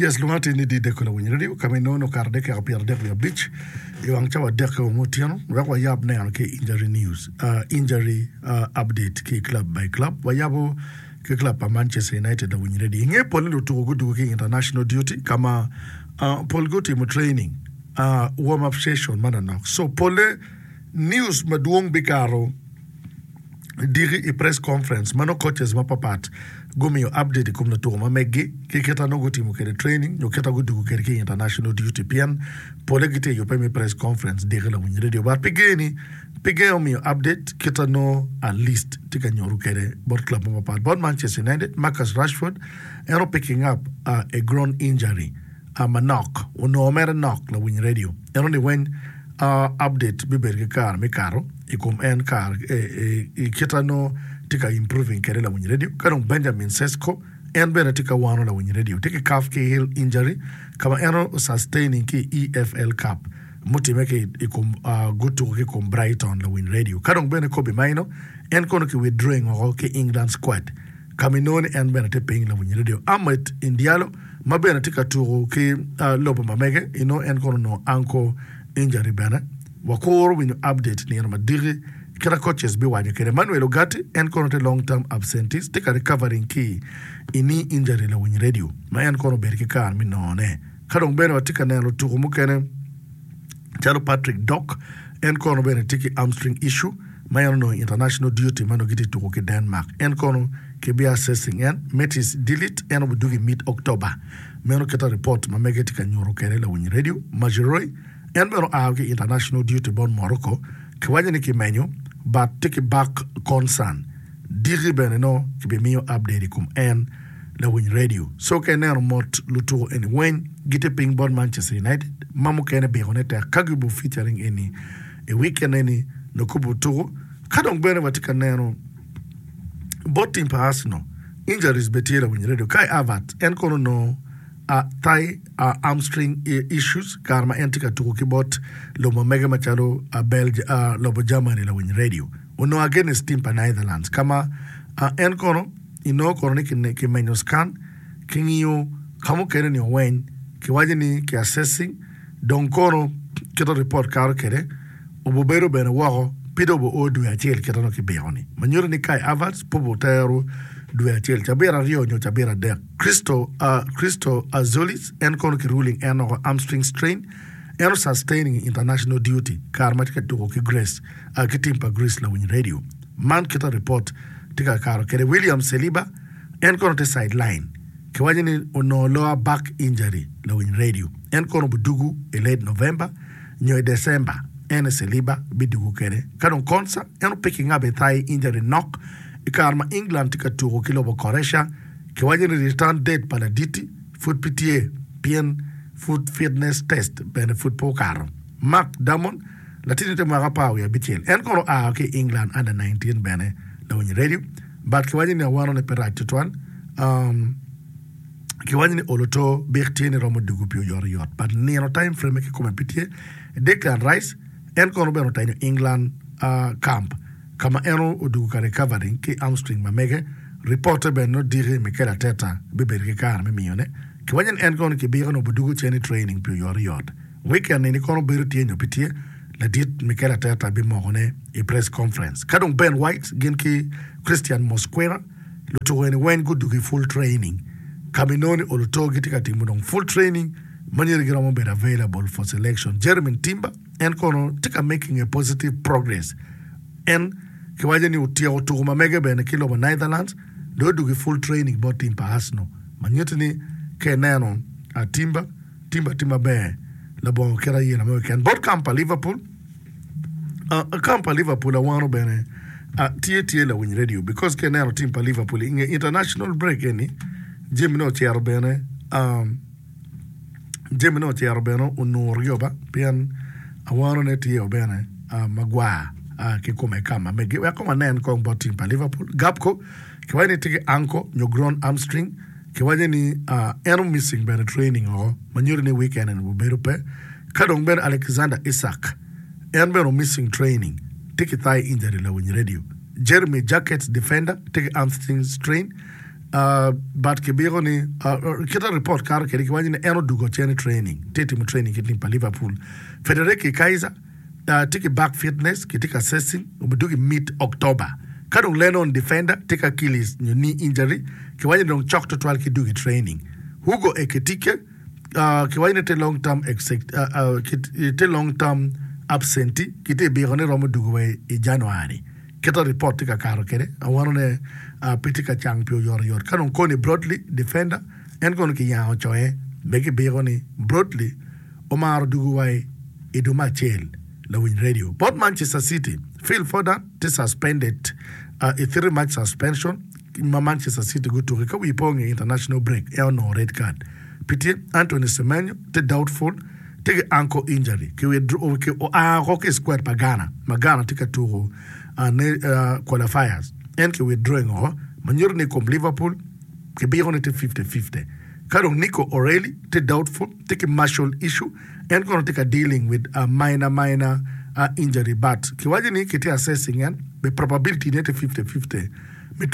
Yes, lwonga tye ni Dideko Lawiny Radio, ka ma inongo ni okato dakika 35 i wang cawa adek me otyeno, wek wayab neno ki injury news, uh, injury uh, update ki club by club. Wayabo ki club pa Manchester United Lawiny Radio. I nge pole lutuku gudugo ki international duty ka ma uh, polgi otimo training, uh, warm up session manonok. So pole news madwong bikato diki i press conference ma nongo coaches mapapat gumiyo update i kom lutuku ma meggi ki kita nongo gutimo kwede training nyo kita gudugo kwede ki i international duty pien pole gitye i yubbe me press conference diki lawiny radio but pi geni pi gengo miyo update kita nongo at least tye ka nyuto kwede bot club mapapat bot Manchester United Marcus Rashford en o picking up a groin injury manok onongo mere nok lawiny radio ento ni weng update bibedo ki kare me kato i kom en kare i kita nongo tye ka improving kwede lawiny radio ka dong Benjamin Sesko en bene tye ka wano lawiny radio tye ki calf ki heel injury ka ma en o sustaining ki i EFL Cup mutime ki i kom gutuko ki i kom Brighton lawiny radio ka dong bene Kobbie Mainoo en kono ki withdrawing woko ki England squad ka ma inongo ni en bene tye piny lawiny radio. Ahmed Indialo ma bene tye ka tuko ki lobo ma mege inongo en kono onongo ankle injury bene. Wakuro winyo update nino ma diki kita coaches biwaco kwede. Manuel Ugarte en kono tye long term absentees tye ka recovering ki i knee injury lawiny radio ma en kono obedo ki kare me nongone. Ka dong bene watye ka neno lutuko mukene calo Patrick Dock en kono bene tye ki hamstring issue ma en onongo i international duty ma nongo gitye tuko ki Denmark. En kono kibi assessing en. Matthijs de Ligt en obidwogo i mid October. Meno kita report ma mege tye ka nyuto kwede lawiny radio. Mazraoui en bene oa ki i international duty bot Morocco. Kiwaco ni kimenyo but tye ki back concern. Diki bene nongo kibimiyo update i kom en lawiny radio. So ka ineno mot lutuko eni weng gitye piny bot Manchester United ma mukene bikone tek ka gubo featuring eni i weekend eni nongo kubo tuko. Ka dong bene watye ka neno bot team pa Arsenal injuries bene tye lawiny radio. Kai Havertz en kono onongo thigh hamstring issues kare ma en tye ka tuko ki bot lobo ma mege macalo lobo Germany lawiny radio. Onongo against team pa Netherlands ka ma en kono inongo kono ni kimenyo scan kingiyo ka mukene ni oweny kiwaco ni ki assessing dong kono kit report kato kwede obubedo bene woko pi dong obo dwe acel kit ma kibiko ni ma nyuto ni Kai Havertz pe obutero dwe acel cabit aryo nyo cabit adek Christo Christo Azolis en kono ki ruling en woko hamstring strain en o sustaining international duty kare ma tye ka tuko ki Greece ki tim pa Greece lawiny radio man kita report tye ka kato kede William Saliba en kono tye side line kiwaco ni onongo lower back injury lawiny radio en kono obidugu i late November nyo i December en Saliba bidugu kede ka dong Konsa en o picking up a thigh injury knock i kare ma England tye ka tuko ki lobo Croatia kiwaco ni return date pa laditi pud pe tye pien pud fitness test bene pud pe okato. Mark Damon Latinni tye mwaka 17. En kono oa ki i England under 19 bene lawiny radio. But kiwaco ni awano ne pe rac tutwal. Um, kiwaco ni olo to bik tye ni romo dugu pi oyot oyot. But nino time frame kikome pe tye. Declan Rice, en kono bene otenyo England uh, camp ka ma en odugu ka recovering ki hamstring ma mege. Ripote bene nongo diki Mikel Arteta bibedo ki kare me miyone. Kiwaco ni en kono kibiko ni obidugu cen i training pi oyot oyot. Weekend eni kono bedo tye nyo pe tye, ladit Mikel Arteta bimokone i press conference. Ka dong Ben White gin ki Christian Mosquera lutuko eni weng gudugo i full training ka ma inongo ni oluto gitye ka timo dong full training ma nyeri giromo bedo available for selection. Jeremy Timber en kono tye ka making a positive progress en kiwaco ni otyeko tuko ma mege bene ki lobo Netherlands dong odugo i full training bot team pa Arsenal ma nyuto ni ka ineno Timber Timber tye maber labongo kit ayela mo keken. Bot kam pa Liverpool, kam pa Liverpool awano bene tye tye lawiny radio because ka ineno team pa Liverpool inge international break eni jamine ocito bene jamine ocito bene onuro gi oba pien awano ne tye bene magwar ki kome kam ma megi. Wek kong wanen kong bot team pa Liverpool. Gapco kiwaco ni tye ki ankle nyo groin hamstring. Kiwaco ni en o missing bene training oko ma nyuto ni weekend eni obedo pe. Ka dong bene Alexander Isak en bene o missing training tye ki thigh injury lawiny radio. Jeremy Jacquet defender tye ki hamstring strain. But kibiko ni kite report kato kwede kiwaco ni en odugo cen i training tye timo training ki team pa Liverpool. Federici Kaiser tye ki back fitness kitye ka assessing obidugo i mid October. Ka dong Lennon defender tye ki Achilles nyo knee injury kiwaco ni dong cok tutwal ki dugo i training. Hugo Ekitike kiwaco ni tye long term tye long term absentee kitye biko ni romo dugo wa i January. Kit a ripot tye ka kato kwede, awano ne pe tye ka cang pi oyotoyot. Ka dong Connie Brodley, defender, en kono kiyango coye be kibiko ni Brodley omaro dugo wa i dwe me acel. Lawiny radio bot Manchester City, Phil Foden tye suspended i 3 match suspension ma Manchester City gutuki ka wi po nge international break en onongo red card. Pi tye Anthony Semenyo tye doubtful tye ki ankle injury ki oa oko ki i squad pa Ghana ma Ghana tye ka tuko qualifiers en ki withdrawing oko ma nyuto ni i kom Liverpool kibiko ni tye 50-50. Ka dong Nico O'Reilly tye doubtful tye ki muscle issue en kono tye ka dealing with a minor minor injury but kiwaco ni kitye assessing en be probability ne tye 50-50 me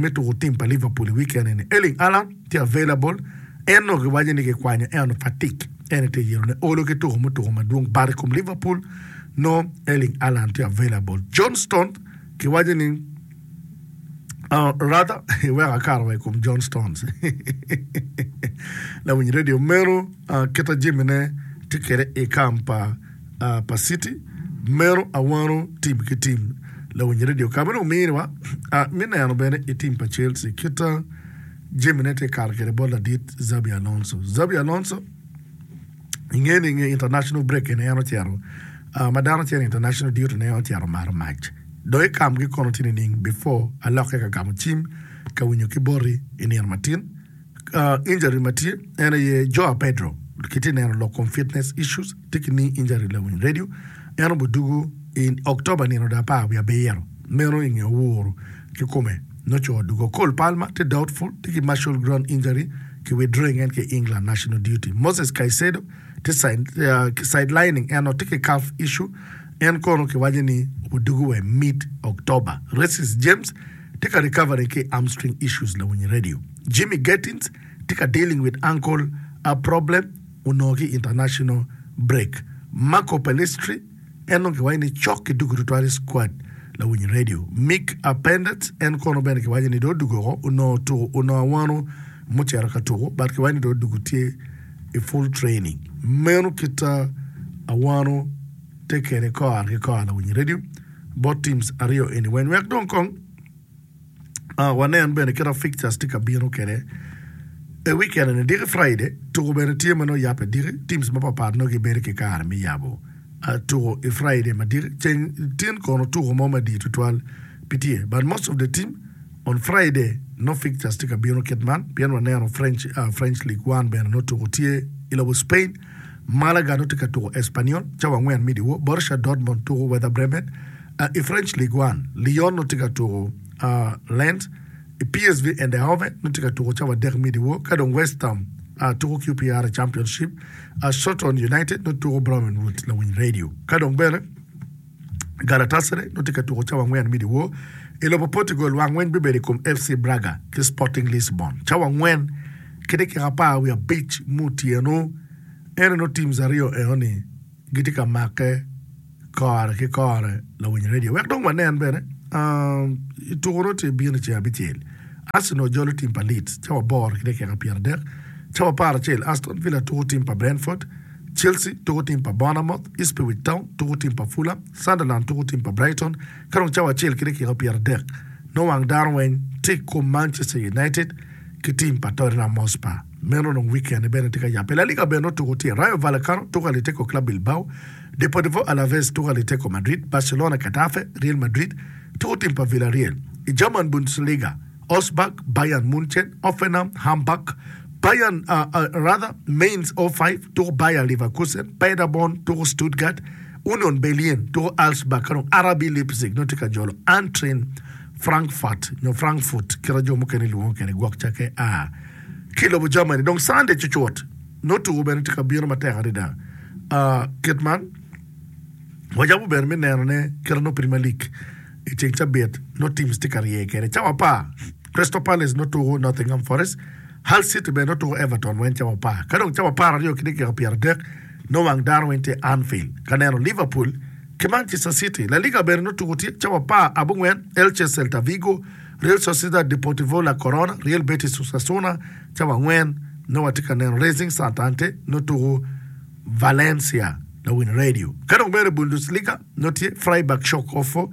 tuko team pa Liverpool i weekend eni. Erling Haaland tye available en onongo kiwaco ni kikwanyo ento fatigue en aye tye yero ne olo ki tuko mutuko madwong but i kom Liverpool nongo Erling Haaland tye available. John Stones kiwaco ni rather iweko akato wa i kom John Stones lawiny radio meno kita jamine tye kwede i kam pa pa City meno awano tim ki tim lawiny radio ka ma dong miniwa me neno bene i tim pa Chelsea kita jamine tye kato kwede bot ladit Xabi Alonso. Xabi Alonso inge ni inge international break eni en ocito ma dano cito i international duty ne en ocito mato mac dong i kamgi kono tye nining before alokke ka gamo cim ka winyo ki boti i nino matin Injury ma tye en aye Joao Pedro kitye neno lok kom fitness issues tye ki knee injury lawiny radio en obudugu i October nino do apar wiye abiro meno inge owuru ki kome nongo co odugo Cole Palmer tye doubtful tye ki muscle groin injury ki withdrawing en ki England national duty Moses Caicedo tye sidelining eno tye ki calf issue en kono kiwaco ni obudugu wa i mid October Reece James tye ka recovering ki i hamstring issues lawiny radio. Jimmy Gettins tye ka dealing with ankle problem onongo ki i international break. Marco Pellistri en dong kiwaco ni cok ki dugo tutwal i squad lawiny radio. Mick Penders en kono bene kiwaco ni dong odugo oko onongo tuko onongo awano mucito ka tuko but kiwaco ni dong odugo tye i full training. Meno kit awano tye kede kore ki kore lawiny radio. Bot teams aryo eni weng wek dong kong wanen bene kit ma fixtures tye ka bino kwede i weekend eni diki Friday tuko bene tye ma nongo yabbe diki teams mapapat nongo gibedo ki kare me yabo tuko i Friday ma diki ceng tin kono tuko mo madit tutwal pe tye but most of the team on Friday nongo fixtures tye ka bino kit man pien waneno French, French League One bene nongo tuko tye i lobo Spain. Malaga nongo tye ka tuko Espanyol cawa angwen me dyewor, Borussia Dortmund tuko Werder Bremen. I French Ligue 1, Lyon nongo tye ka tuko Lens, PSV Eindhoven nongo tye ka tuko cawa adek me dyewor, ka dong West Ham tuko QPR i Championship, Shotton United nongo tuko Bromwich Wood lawiny radio. Ka dong bene Galatasaray nongo tye ka tuko cawa angwen me dyewor. I lobo Portugal, wang weny bibedo i kom FC Braga ki Sporting Lisbon cawa angwen ki dakika 15 me otyeno. Ento nongo teams aryo enoni gitye ka make kore ki kore lawiny radio. Wek dong wanen bene i tuko nongo tye bino i ceng abicel. Arsenal jolo team pa Leeds cawa aboro ki dakika 30. Cawa 11 Aston Villa tuko team pa Brentford. Chelsea tuko tim pa Bournemouth, Ipswich Town tuko tim pa Fulham, Sunderland tuko tim pa Brighton ka dong cawa acel ki dakika 30 nongo wang dano weng tye i kom Manchester United ki tim pa Tottenham Hotspur. Meno dong weekend bene tye ka yabbe. La Liga bene nongo tuko tye, Rayo Vallecano tuko Atletico Club Bilbao, Deportivo Alaves tuko Atletico Madrid, Barcelona Getafe, Real Madrid tuko tim pa Villarreal. I German Bundesliga, Augsburg, Bayern Munchen, Hoffenheim, Hamburg, Bayern, rather, Mainz 05 tuko Bayer Leverkusen, Paderborn tuko Stuttgart, Union Berlin tuko Augsburg ka dong RB Leipzig nongo tye ka jolo Eintracht Frankfurt nyo Frankfurt kit ma jo mukene lwongo kwede gwok cakke a ki i lobo Germany. Dong Sunday cucut nongo tuko bene tye ka bino matek adada. Kit man wacako bene me nenone kit ma nongo Premier League i ceng cabit nongo teams tye ka rye kwede cawa apar. Crystal Palace nongo tuko Nottingham Forest, Hull City bene nongo tuko Everton weng cawa apar. Ka dong cawa 12 ki dakika 30 nongo wang dano weng tye i Anfield ka neno Liverpool ki Manchester City. La Liga bene nongo tuko tye cawa apar abongwen, Elche Celta Vigo, Real Sociedad Deportivo La Corona, Real Betis Osasuna, cawa angwen nongo watye ka neno Racing Santander nongo tuko Valencia lawiny radio. Ka dong bene Bundesliga nongo tye Freiburg Schalke 04,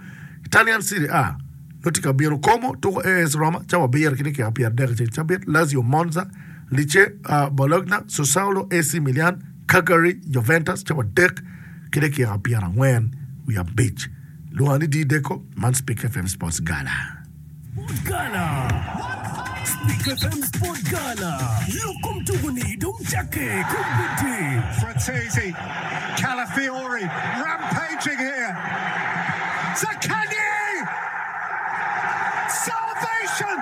Italian Serie A nongo tye ka bino Como tuko AS Roma cawa abiro ki dakika 30 i ceng cabit, Lazio Monza, Lecce Bologna, Sassuolo AC Milan, Cagliari Juventus cawa adek ki dakika 45. Lwonga ni Dee Deco, man Spik FM Sports Gala. Sport Gala Spik FM Sport Gala Lok kom tuku ni dong cakke kombeddi. Frattesi, Calafiori rampaging here, Zaccagni! Salvation!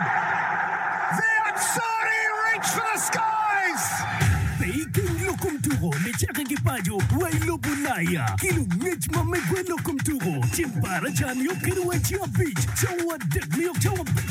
The Azzurri reach for the skies! Pe ikeng lok kom tuko nicakke ki paco wa i lobo Ulaya ki lungec ma megwa i lok kom tuko ceng baraca nio kede wa i ceng abic cawa adek nio cawa.